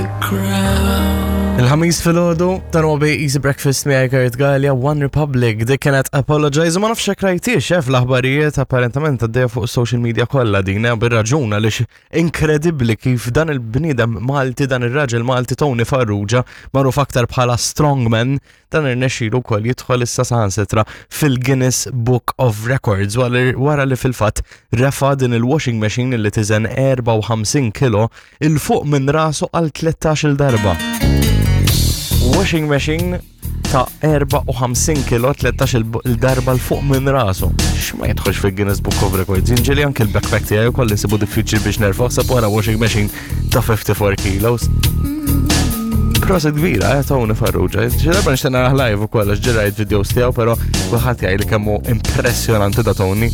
the crowd. Il-ħamis filgħodu dan huwa bej Easy Breakfast miegħi Kurt Gallia One Republic dik kienet Apologize u ma nafx hekk rajtiex eh, fl-aħbarijiet apparentament għaddejja fuq social media kollha din eh, bir-raġun għaliex inkredibbli kif dan il-bniedem Malti dan ir-raġel Malti Tony Farrugia magħruf aktar bħala Strongman Dan irnexxielu wkoll jidħol issa saħansitra fil-Guinness Book of Records wara li fil-fatt refa' din il-washing machine li tiżen 54 kilo il fuq minn rasu għal 13-il darba. Washing machine ta' 54 kilo 13 il-darba l fuq minn rasu. X'ma jidħolx fil-Guinness Book of Records. Jinġeli anke l-backpack tiegħi wkoll insibu diffiċli biex nerfa' sab wara washing machine ta' 54 kilos. Proset kbira, eh, Tony Farrugia. Xi darba nixtieq narah live ukoll għax ġerajt videos tiegħu, però kulħadd jgħid li kemm hu impressjonanti da Tony.